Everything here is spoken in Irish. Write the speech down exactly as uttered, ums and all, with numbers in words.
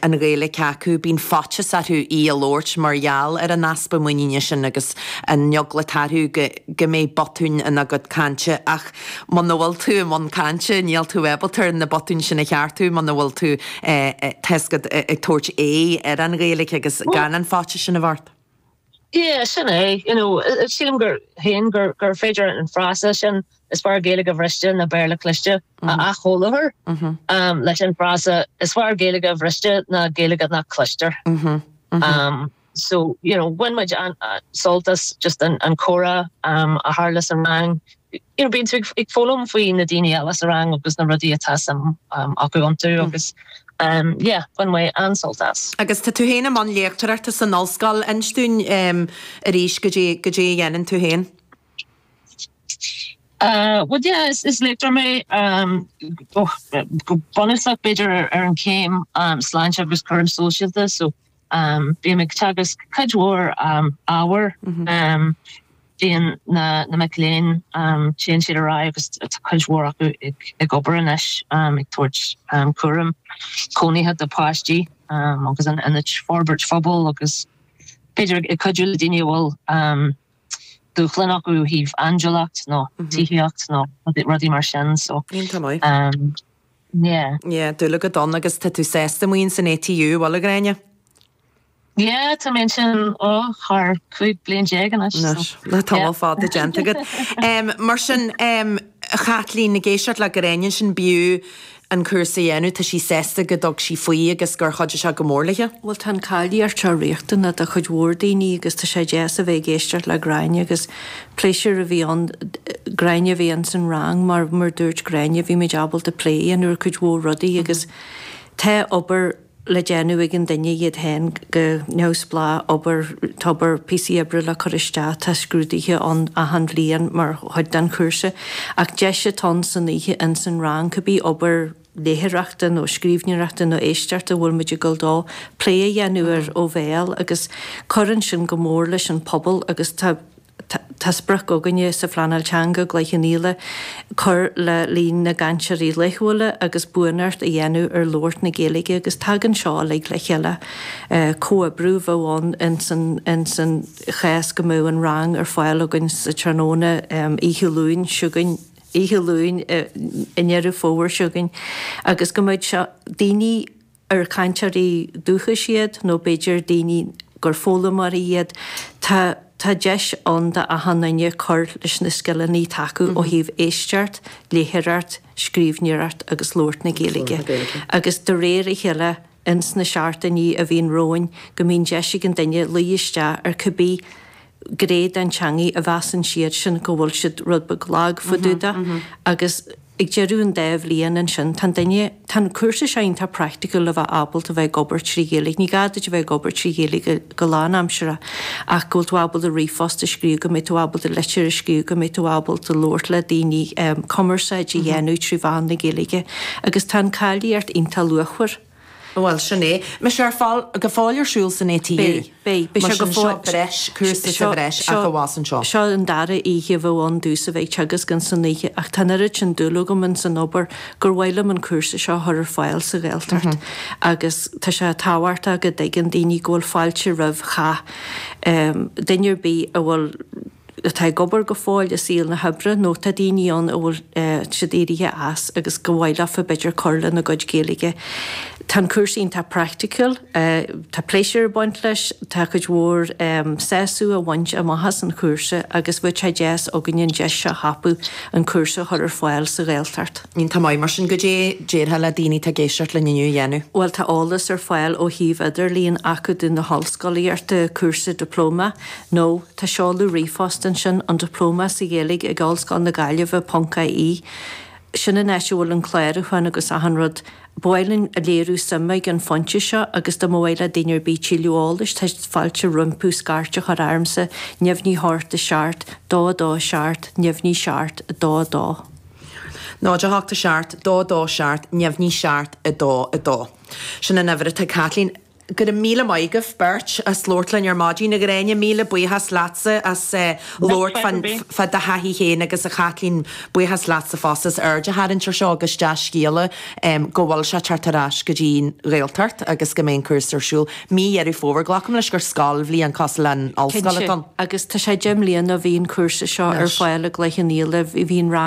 an Ghaeilge acu, bíonn faitíos orthu í a labhairt mar gheall ar an easpa muiníne sin agus an eagla atá orthu go go mbeidh botúin ina gcuid cainte ach muna bhfuil tú i mbun cainte níl tú ábalta na botúin sin a cheartú muna bhfuil tú tá a fhios agat ag tabhairt aghaidh ar an Ghaeilge agus gan an faitíos sin a bheith ort. Yeah, sin é, you know, sílim gur féin gur gur féidir an frása sin is fearr Gaeilge bhriste ná Béarla cliste a athsholáthar um, leis an frása is fearr Gaeilge bhriste ná Gaeilge nach gcloistear. Um, so you know, bhain muid an uh, sult as just an, an comhrá um, a tharla sa rang. You know, bíonn tú ag foghlaim faoi na daoine eile sa rang agus na rudaí atá suim um, acu iontu agus um, yeah, bhain muid an-sult as. Agus tá tú féin i mbun léachtóireachta san ollscoil inis dúinn um, arís goidé goidé a dhéanann tú féin. Uh, well yeah, is, is léachtóir mé um, oh, go bunúsach b'fhéidir ar, ar an céim um, sláinte agus cúram sóisialta, so um, bím ag teagasc cuid mhór um, ábhar mm -hmm. um, bíonn na, na mic léinn um, téann siad ar aghaidh agus tá cuid mhór acu ag, ag obair anois um, ag tabhairt um, cúram cónaithe do pháistí um, agus an ionaid forbairt phobail agus b'fhéidir ag cuidiú le daoine a bhfuil um, dúshlán acu ó thaobh aindiúlacht nó tithíocht nó rudaí mar sin so Iontach maith. um, yeah. Yeah, dúil go don agus tá tú sásta muin san ATU bhfuil a Ghráinne? Yeah, tá mé sin ó thar cúig bliain déag anois. Anois, le tamall fada déanta agat. Um, mar sin um, Chaitlín ag éisteacht le Gráinne sin b'fhiú an cúrsa a dhéanamh tá sí sásta go dtug sí faoi agus gur chuidigh sé go mór léi. Well tá an cáilíocht seo riachtanach do chuid mhór daoine agus tá sé deas a bheith ag éisteacht le Gráinne agus pléisiúr a bhí ann Gráinne a bhí ann san rang mar mar dúirt Gráinne bhí muid ábalta plé an uair cuid mhór rudaí agus tá obair le déanamh ag an duine iad féin go neamhspleách obair tobar píosaí oibre le cur isteach tá scrúduithe ann achan bhliain mar chuid den chúrsa ach deis atá ann san oíche in san rang cibé obair léitheoireachta nó scríbhneoireachta nó éisteachta bhfuil muid ag dul dó plé a dhéanamh ar ó bhéal agus cuireann sin go mór leis an pobal agus tá Tá sprioc againne sa phleanáil teanga Cloich Cheann Fhaola cur le líon na gcainteoirí laethúla agus buanacht a dhéanamh ar labhairt na Gaeilge agus tagann seo uilig le chéile comhoibriú bheith ann in san in san chás go mbeadh an rang ar fáil againn sa tráthnóna oíche Luain seo chugainn oíche Luain i nDeireadh Fómhair seo chugainn agus go mbeadh seo daoine ar cainteoirí dúchais iad nó b'fhéidir daoine gur foghlaimeoirí iad tá tá deis ann do achan duine cur leis na scileanna atá acu ó thaobh éisteacht, léitheoireacht, scríbhneoireacht agus labhairt na Gaeilge. Agus de réir a chéile ins na seachtainí a bhíonn romhainn go mbíonn deis ag an duine luí isteach ar cibé gné den teangaidh a mheasann siad sin go bhfuil siad rud beag lag fá dtaobh de agus ag deireadh an dá bhliain ansin tá an duine tá an cúrsa seo iontach praiticiúil le bheith ábalta bheith ag obair trí Ghaeilge. Ní gá duit a bheith ag obair trí Ghaeilge go lánaimseartha ach go bhfuil tú ábalta ríomhphost a scríobh, go mbeidh tú ábalta litir a scríobh, go mbeidh tú ábalta labhairt le daoine um, cumarsáid a dhéanamh trí mheán na Gaeilge agus tá an cáilíocht iontach luachmhar. Bhuel sin é. Beidh sé ar fáil go fóill ar siúl san ATU. Beidh, beidh, beidh sé go fóill. Breis, cúrsa sa bhreis ach amháin anseo. Seo an dara oíche bheith ann domhsa bheith ag teagasc in san oíche ach tá an oiread sin dúil agam in san obair gur mhaith liom an cúrsa seo a chur ar fáil sa Ghaeltacht agus tá sé tábhachtach go dtuigeann daoine go bhfuil fáilte roimh chách um, duine ar bith a bhfuil atá ag obair go fóill i saol na hoibre nó tá daoine ann a bhfuil uh, siad éirithe as agus go mhaith leofa b'fhéidir cur lena gcuid Gaeilge. Tá an cúrsa iontach praiticiúil, uh, tá pléisiúr ag baint leis, tá cuid mhór um, sásamh a bhaint amach as an chúrsa agus bheadh sé deas againn an deis seo a thapú an cúrsa a chur ar fáil sa Ghaeltacht. Iontach maith mar sin goidé déarfá le daoine atá ag éisteacht linn inniu a dhéanamh. Bhuel tá eolas ar fáil ó shuíomh idirlíon Acadamh na hOllscolaíochta cúrsa diplóma nó tá seoladh ríomhphost ansin an diplóma sa Ghaeilge ag Ollscoil na Gaillimhe ponc IE. Sin an áit a bhfuil an clárúchán agus achan rud. Ba mhaith linn a léiriú suime ag an phointe seo agus dá mba mhaith le daoine ar bith tuilleadh eolais tá fáilte rompu scairt a chur ormsa neamhní hocht a seacht, dó dó seacht, neamhní seacht, dó dó. Náid a hocht a seacht, dó dó seacht, neamhní seacht, a dó a dó. Sin an uimhir atá Caitlín. Go raibh míle maith agaibh beirt as labhairt linn ar maidin a Ghráinne míle buíochas leatsa as eh, labhairt fá do thaithí féin agus a Chaitlín buíochas leatsa fosta as aird a tharraingt air seo agus dea-scéala go bhfuil sé teacht ar ais go dtí an Ghaeltacht agus go mbeidh an cúrsa ar siúl. Mí Dheireadh Fómhair glacaim leis gur scoilbhliain cosúil leis an ollscoil Cinnte, agus tá sé deich mbliana ó bhí an cúrsa seo ar fáil i gCloich Cheann Fhaola, bhí an rang